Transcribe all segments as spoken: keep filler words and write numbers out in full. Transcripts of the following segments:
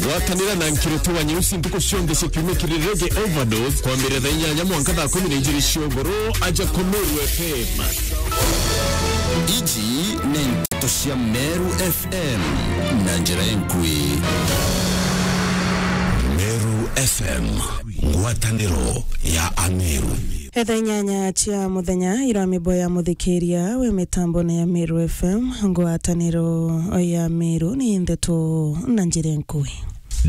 Gwatanira na Nkiroti wa Nyeusi ntuku cionthe cia kiumia kiri Reggae Overdose, kwambiriria thaa inyanya mwanka thaa kumi na ijiri cia ugoro, aja ku Meru F M. Iji ni nteto cia Meru F M na njira enkui. Meru F M, ngwataniro ya Ameru. Etha inyanya cia muthenya, irwa mibo ya muthikiria wi mitambone ya Meru F M, ngwataniro ya Meru ni ndeto na njira nkui.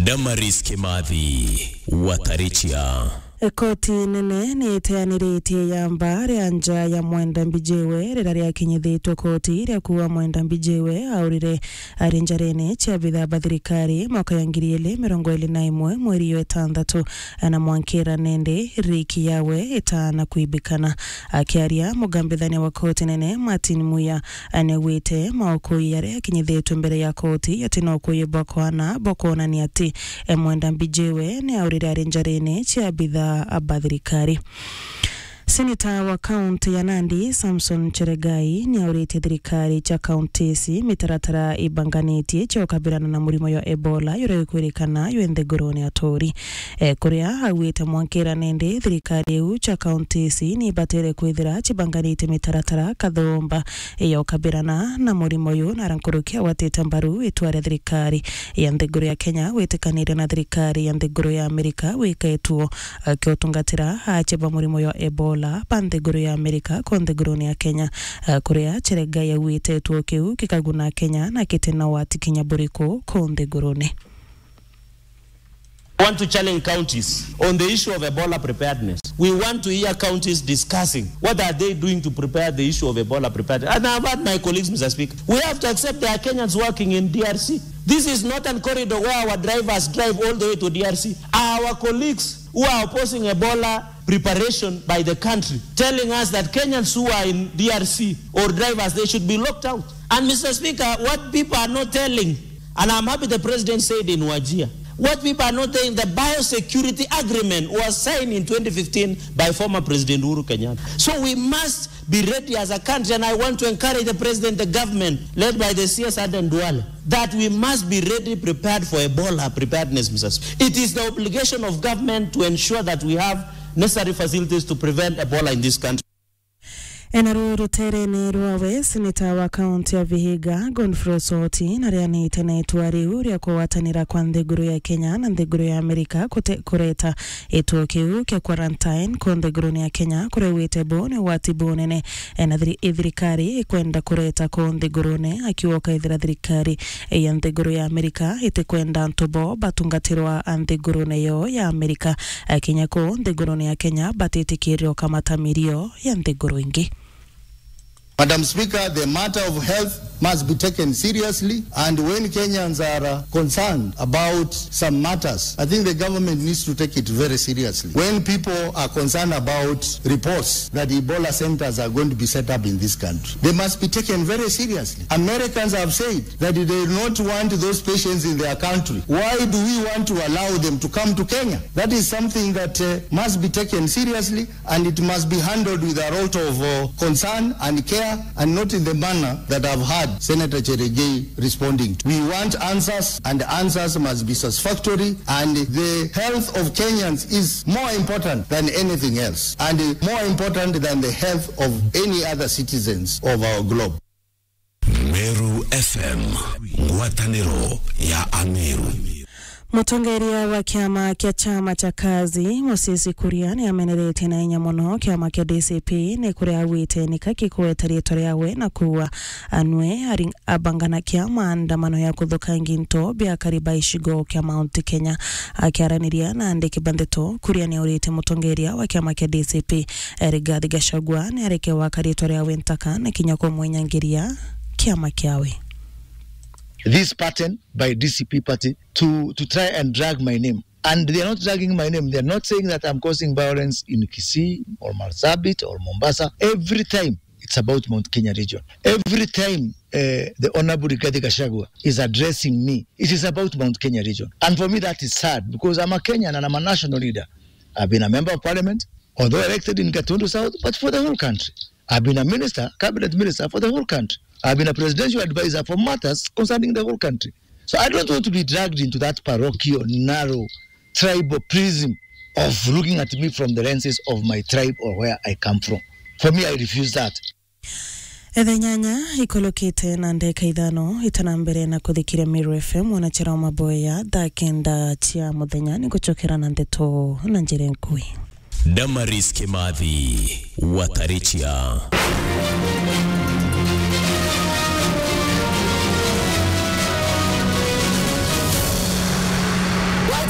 Damaris Kimathi, Watarichia. Koti nene ni iteaniritie yamba ria nja ya Mwenda Mbijiwe, riria riakinyithitwe koti ria kuuga Mwenda Mbijiwe aurire ari njarene cia bithaa ba thirikari mwaka ya ngiri ili mirongo ili na imwe mweri wa itantatu, na mwankira nende riki yawe itana kwibikana. Akiaria, mugambithania wa koti nene Martin Muya niaugite maukui jaria akinyithitwe mbere ya koti jati na ukui bwa kwana bwa kwonania ati Mwenda Mbijiwe niaurire ari njarene cia bithaa ba thirikari. Seneta wa kaunti ya Nandi, Samson Cheregai, niauritie thirikari cia kaunti ici mitaratara ibanganitie cia ukabirana na murimo jwa Ebola, juria jukwirikana jwi nthigurune ya Tori. E, kuria augite mwankira nindi thirikari iu cia kaunti ici niibatere kwithira cibanganitie mitaratara kathomba ya ukabirana na murimo uyu, na ara nkuruki agwatite mbaru itua ria thirikari ya nthiguru ya Kenya gwitikaniria na thirikari ya nthiguru ya Amerika gwika ituo, eh, kia utungatira acia ba murimo jwa Ebola ba nthiguru ya Amerika ku nthigurune ya Kenya, eh, kuria Cheregai augite ituo kiu gikaguna Kenya na giti na wati kinya buriku ku nthigurune. I want to challenge counties on the issue of Ebola preparedness. We want to hear counties discussing what are they doing to prepare the issue of Ebola preparedness. And I've heard my colleagues, Mister Speaker, we have to accept there are Kenyans working in D R C. This is not a corridor where our drivers drive all the way to D R C. Our colleagues who are opposing Ebola preparation by the country, telling us that Kenyans who are in D R C or drivers, they should be locked out. And Mister Speaker, what people are not telling, and I'm happy the president said in Wajir, what people are not telling, the biosecurity agreement was signed in twenty fifteen by former President Uhuru Kenyatta. So we must be ready as a country, and I want to encourage the president, the government led by the C S Aden Duale, that we must be ready, prepared for Ebola preparedness, Mister Speaker. It is the obligation of government to ensure that we have necessary facilities to prevent Ebola in this country. Ena ru ruterene rwawe, seneta wa kaunti ya Vihiga, Godfrey Osoti, narianite na itua riu ria kugwatanira kwa nthiguru ya Kenya na nthiguru ya Amerika kute-, kureta gituo kiu kia quarantine ku nthigurune ya Kenya, kuria augite bo ni ugwati bunene, eh, na thiri-, thirikari ikwenda kureta ku nthigurune, akiuga ukaithira thirikari, eh, ya nthiguru ya Amerika itikwenda antu bo batungatirwa nthigurune yo ya Amerika, eh, kinya ku nthigurune ya Kenya batitikirirwa ukamata mirio ya nthiguru ingi. Madam Speaker, the matter of health must be taken seriously, and when Kenyans are, uh, concerned about some matters, I think the government needs to take it very seriously. When people are concerned about reports that Ebola centers are going to be set up in this country, they must be taken very seriously. Americans have said that they do not want those patients in their country. Why do we want to allow them to come to Kenya? That is something that, uh, must be taken seriously. And it must be handled with a lot of, uh, concern and care, and not in the manner that I've heard Senator Cheregei responding to. We want answers, and answers must be satisfactory, and the health of Kenyans is more important than anything else, and more important than the health of any other citizens of our globe. Meru F M, ngwataniro ya Ameru. Mutongeria wa kiama kia chama cha Kazi, Moses Kuria, ni ameneretie na inya mono kiama kia D C P, ni kuria augite nika gikugweta riitwa riawe na kuuga anwe ari-, abanganakia maandamano ya kuthukangia into bia akari ba icigo kia Mount Kenya. Akiaraniria na andiki ba ndeto, Kuria ni aurite mutongeria wa kiama kia D C P, Rigathi Gachagua, ni areke gwaka riitwa riawe ntaka na kinya kumwenyangiria kiama kiawe. This pattern by D C P party to, to try and drag my name. And they are not dragging my name. They are not saying that I'm causing violence in Kisii or Marsabit or Mombasa. Every time it's about Mount Kenya region. Every time, eh, the Honorable Rigathi Gachagua is addressing me, it is about Mount Kenya region. And for me, that is sad because I'm a Kenyan and I'm a national leader. I've been a member of parliament, although elected in Gatundu South, but for the whole country. I've been a minister, cabinet minister for the whole country. I've been a presidential advisor for matters concerning the whole country. So I don't want to be dragged into that parochial, narrow, tribal prism of looking at me from the lenses of my tribe or where I come from. For me, I refuse that. Etha nyanya ikolokite na ndeka ithano itana mbere na kuthikiria Meru F M, mwanachera wa maboya thaa kenda cia muthenya ni gucokera na ndeto na njira nkui. Damaris Kimathi, Watarichia.